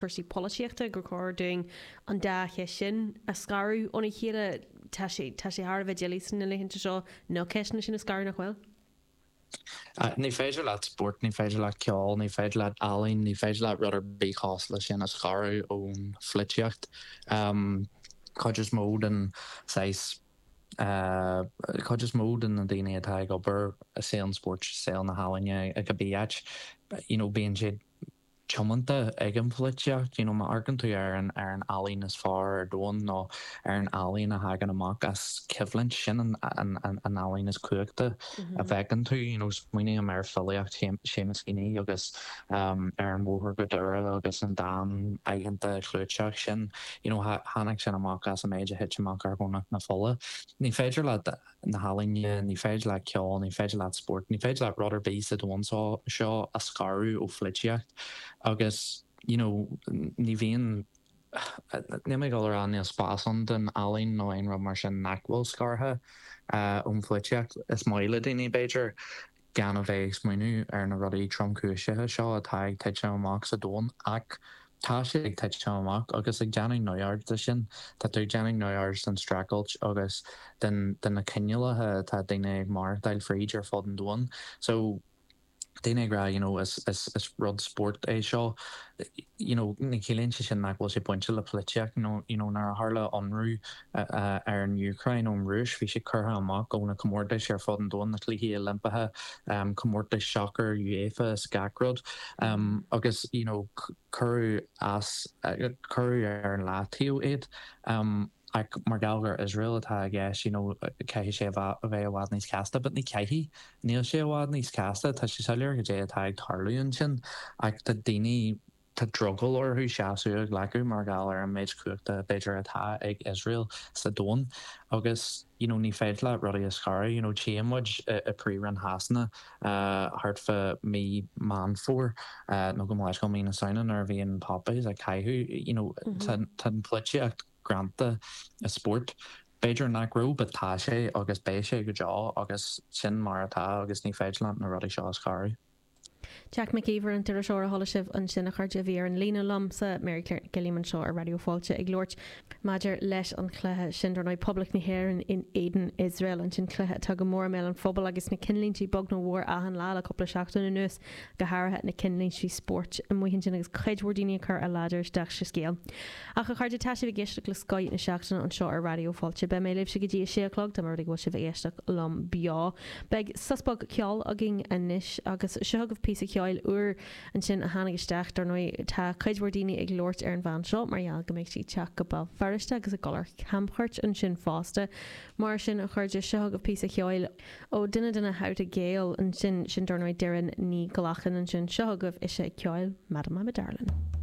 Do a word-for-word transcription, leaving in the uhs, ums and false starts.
cúrsaí polaitíochta gur chóir dúinn an dá cheist sin a scaradh óna chéile tá sé tá sé thar a bheith doiligh sna laethanta seo na ceisteanna sin a scaradh nach bhfuil? Uh, ní féidir leat spórt, ní féidir leat ceol, ní féidir leat ealaín, ní féidir leat rud ar bith cosúil leis sin a scaradh ón pholaitíocht. Um, Cuid is mó den saghas uh, cuid is mó den na daoine atá ag obair i saol an spóirt saol na healaíne ag a bíát you know, bíonn siad tiomanta ag an pholaitíocht, you know, má amharcann tú ar an ar an ealaín is fearr ar domhan nó ar an ealaín a thagann amach as coimhlint sin an an an an ealaín is cumhachtaí a bhfeiceann tú, you know, smaoiním ar filíocht Seamus Heaney agus um, ar an mBóthar go Doire agus an dán aitheanta clúiteach sin, you know, tháinig sin amach as an méid a thit amach ar Dhomhnach na Fola. Ní féidir leat na healaíona, ní féidir leat ceol, ní féidir leat spórt, ní féidir leat rud ar bith sa domhan seo a scaradh ó pholaitíocht agus you know, ní bhíonn ní mé go an níl spás ann den ealaín nó aon rud mar sin nach bhfuil scartha uh, ón pholaitíocht is maith le daoine b'fhéidir gan a bheith ag smaoineamh ar na rudaí tromchúiseacha seo atá ag titim amach sa domhan ach tá sé ag titim amach agus ag déanamh neamhaird de sin Tá tú ag déanamh neamhaird den streachailt agus den den na cineálacha atá daoine ag maireachtáil fríd ar fud an domhain. So daoine ag rá you know, is, is, is rud spórt é seo you know, ní chiallaíonn sé sin nach bhfuil sé bainte le polaitíocht you know, you know, nuair a tharla ionradh uh, uh, ar an Úcráin ón Rúis bhí sé curtha amach ó na comórtais ar fud an domhain na Cluichí Oilimpeacha um, comórtais soccer UEFA is gach rud um, agus you know, cuireadh as uh, cuireadh ar an leataobh iad um, ach mar gheall gur Israel atá i gceist you know, caithfidh sé a bheith i bhfad níos casta, but ní chaithfidh níl sé i bhfad níos casta tá sé soiléir go dté atá ag tarlú ansin ach tá daoine tá drogall orthu seasamh a ghlacadh mar gheall ar an méid cumhachta b'fhéidir atá ag Israel sa domhan agus you know, ní féidir le rudaí a scaradh you know, tchí muid i bPríomhroinn Shasana uh, thart fá mí Meán Fómhair uh, nó go leis go mí na Samhna nuair a bhí an poppies ag caitheamh you know, mm -hmm. tá an pholaitíocht greanta i spórt. B'fhéidir nach raibh but tá sé agus beidh sé go deo agus sin mar atá agus ní féidir leat na rudaí seo a scaradh. Jack McKeever an t-iriseoir a chuala sibh ansin a chairde bhí ar an líne liomsa Mary Claire Gilliam anseo ar Raidió Fáilte ag labhairt maidir leis an chluiche sin dar ndóigh Poblacht na hÉireann in éadan Iosrael ansin cluiche atá go mór i mbéal an phobail agus na cinnlíntí bog nó mhór achan lá le cúpla seachtain anuas go háirithe na cinnlíntí spóirt amuigh ansin agus cuid mhór daoine ag cur a ladar isteach sa scéal. Ach a chairde tá sibh ag éisteacht le Scoth na Seachtaine anseo ar Raidió Fáilte Beidh mé libh go dtí a sé a chlog tá mar go bhfuil sibh ag éisteacht liom beo. Beidh sos beag ceoil againn anois agus seo agaibh píosa ceoil úr ansin a tháinig isteach dar ndóigh tá cuid mhór daoine ag labhairt ar an bhean seo mar gheall go mbeidh sí ag teacht go Béal Feirste agus ag dul ar camchuairt ansin fosta. Mar sin a chairde seo agaibh píosa ceoil ó duine de na How to Gael ansin sin dar ndóigh Doireann Ní Ghlacáin ansin seo agaibh ise ag ceol Madam I'm a Darling.